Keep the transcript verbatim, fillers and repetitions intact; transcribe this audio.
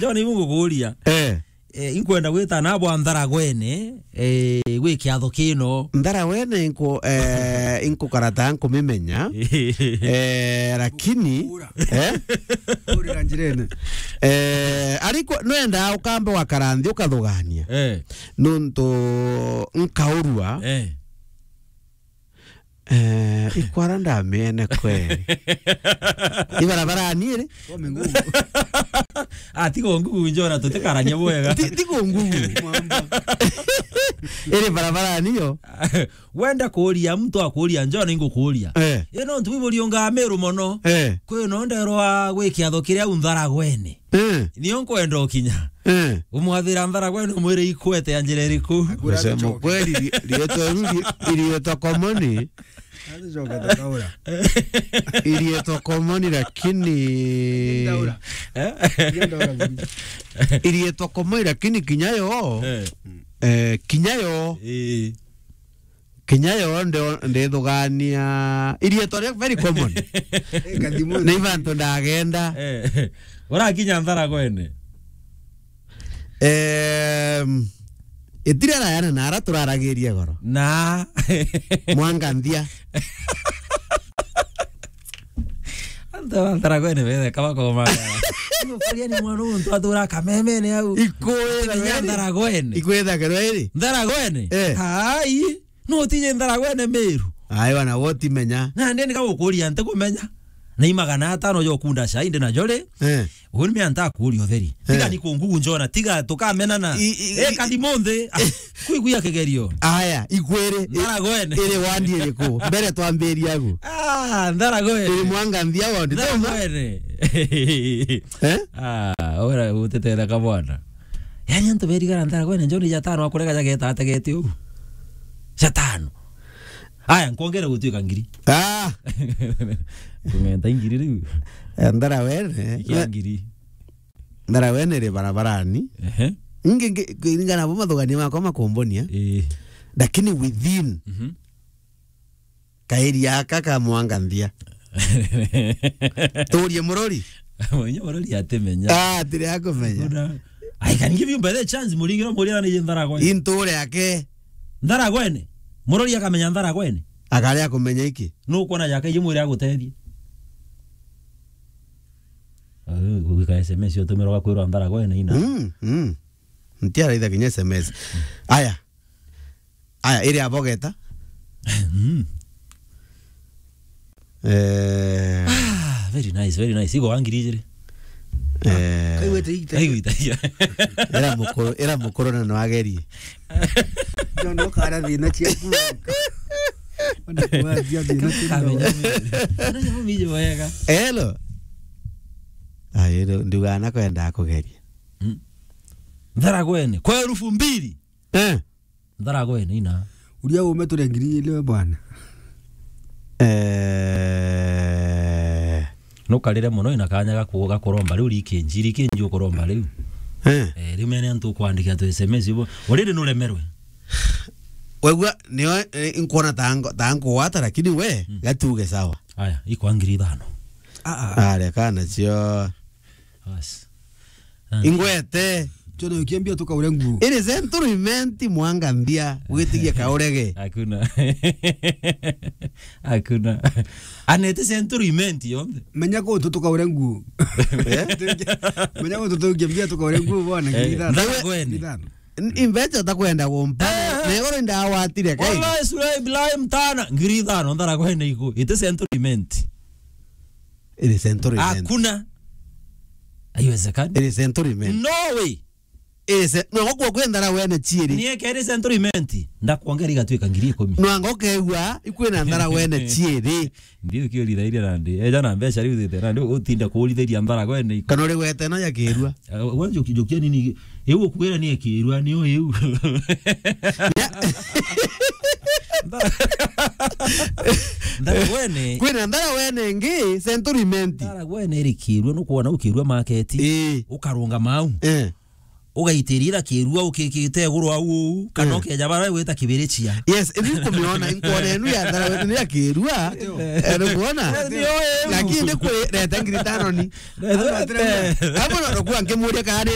John, ibu ngukuria. Eh. Eh, inkwenda gwita na bwa Ntharagwene, eh, gwi kiatho kino. Ntharagwene inko, eh, inkukarata nkumimenya. Eh, lakini, eh? Urira njirene. Eh, ariko nwenda ukambe wakara nthi ukathugania. Eh. Nuntu nkaurua. Eh. Eh, ikwara ndamiene kweli. Ibarabara ni iri? Kwa mingugu. Ah, tigo ngugu njona tutikarania bwega. Ti-, tigo ngugu. Iri barabara niyo. Wenda kuria, muntu akuria, njona ingukuria. Eh. Ino ntu biburi unga Meru mono. Eh. Kwi no nderwa gwi kiatho kiria u Ntharagwene. Eh. Nio nkwenda ukinya. Eh. Umwathira Ntharagwene umwire ikwete ya njira iriku? Akwira Kusema aticoke. Kweli, ri-, rietwa riu ri-, irietwa komoni. Aticoke takaura. Irietwa komoni, lakini Ndaura. Eh? Ndaura buri. Irietwa komoni, lakini kinya yo, eh. Eh, kinya yo. Eh. Kinya yo nde-, ndithugania irietwa ria very common. Eh, Kathimo. Na ibantu ndagenda. Eh, urakinya Ntharagwene. Em, itire rayana na ara turaragiria goro. Na. Mwanganthia. Antu ba Ntharagwene betheka bakoma. Igo kuria ni mwana untu atura kamemene au. Ikwira Kinya rweri. Ntharagwene. Ikwira kerwa iri. Ntharagwene? Eh. Ai. No utije Ntharagwene Meru. Ai, wana, wotimenya. Na ndeni gagukuria ntikumenya. Na i magana atano jo kunda cai ndi najo ri. Eh. Uni me anta kuria utheri. Eh. Tiga ni kungugu njona, tiga tukamenana. I, i, eh, i, Kathimo nthi. Ah, kwiguia kigerio. Aya, ikwiri. Ntharagwene. Iri wandi iriku? Mbere twambiria agu. Ah, Ntharagwene. Iri Mwanganthia wandi. Ntharagwene. Eh? Ah, ora utetetheka bwana. Yaani antu berigara Ntharagwene njoni jatano akurega jageta ategete ugu. Jatano. Aya, nkwongere gutuika ngiri. Ah! Kung'enta ingiri riu. Eh, Ntharagwene. Ikia ngiri. Ntharagwene ri barabarani. Ehe. Ingi ngi-, kuringana bo mathugania makwa makumbonia. Ii. Lakini within, mhm, kairi aka ka Mwanganthia. Turie murori. Mwenye murori atimenya. Ah, tiri akumenya. Kuna, I can give you by the chance, muringiro muria ni Ntharagwene. Inture ake. Ntharagwene. Murori akamenya Ntharagwene. Akari akumenya iki. Nukwona jaka ije mwire agutethie. Ah, gwika S M S utumirwa kwirwa Ntharagwene ina. Mm, mm. Ntiaraitha kinya S M S. Aya. Aya, iri abogeta. Mm. Eh. Ah, very nice, very nice. Igo wa ngiri ijiri. Eh. Kaigwete igita. Kaigwete igita. Era mukuru, era mukuru na no agerie. Ndio no kara thina ciaku. Ona kwa thia thina ciaku. Ona nyo mije wega. Hello. Ai, ero, nduga na kwenda kugeria. Mm. Ntharagwene, kwa elfu mbili. Eh. Ntharagwene ina. Uria ume ture ngiri ile we bwana. Eh. Nukarire muno ina kanya gaku-, gakuromba riu rikinji, rikinji ukuromba riu. Eh. Eh, riu mene antu kwandika tu S M S ibo. Already nuremerwe. Wegua, nio, eh, nkuona ta ngo-, ta nkugwata, lakini we, mm, gatuge sawa. Aya, ikwa ngiri ithano. Ah, ah. Aria kana cio. Bas. Ah. Ingwete. Chono kiambia tukaure nguo. Iri Central Imenti Mwanganthia, witigie kaurege. Hakuna. Hakuna. Anete Central Imenti yonthe. Menya ko tu tukaure nguo. Eh? Menya ko tu tukiambia tukaure nguo bwana, eh, ngiri ithano. Ntharagwene. Ngiri ithano. N-, imbecha utakwenda kumpa. Eh. Na igoro ndawatire kai. Wallahi, Sulai, Ibrahim, tana, ngiri ithano, Ntharagwene iku. Ite Central Imenti. Iri Central Imenti. Hakuna. Haiwezekani. Iri Central Imenti. No way. Iri ce-, no gukua kwi Ntharagwene ciiri. Nie keri Central Imenti. Ndakwongera igatwika ngiri ikumi. No anga ukegua ikwina Ntharagwene ciiri. Ndi ukiuritharia nandi. Eja na mbeca riu thite nandi utinde kuuritharia Ntharagwene iku. Kana uri gwete no ya kirua. Eh, we njuki-, njukia nini? Iu ukuwira ni ekirua, ni o iu. Ya. Ntharagwene. Kwina Ntharagwene ingi, Central Imenti. Ntharagwene iri kirua, nukwona ukirua market. Ii. Ukarungama au. Eh. ugaitiria ira kirua ukikite iguru au uu, kana Eh. ukeja bara gwita kibirichia. Yes, ithi kumiona, inkuona enu ya thara wetu ni ya kirua. Eh, nikuona? Ndio, eh, lakini kwi reta ngiri tano ni. Reta. Hapo ndo nakuwa nkimuria kana ni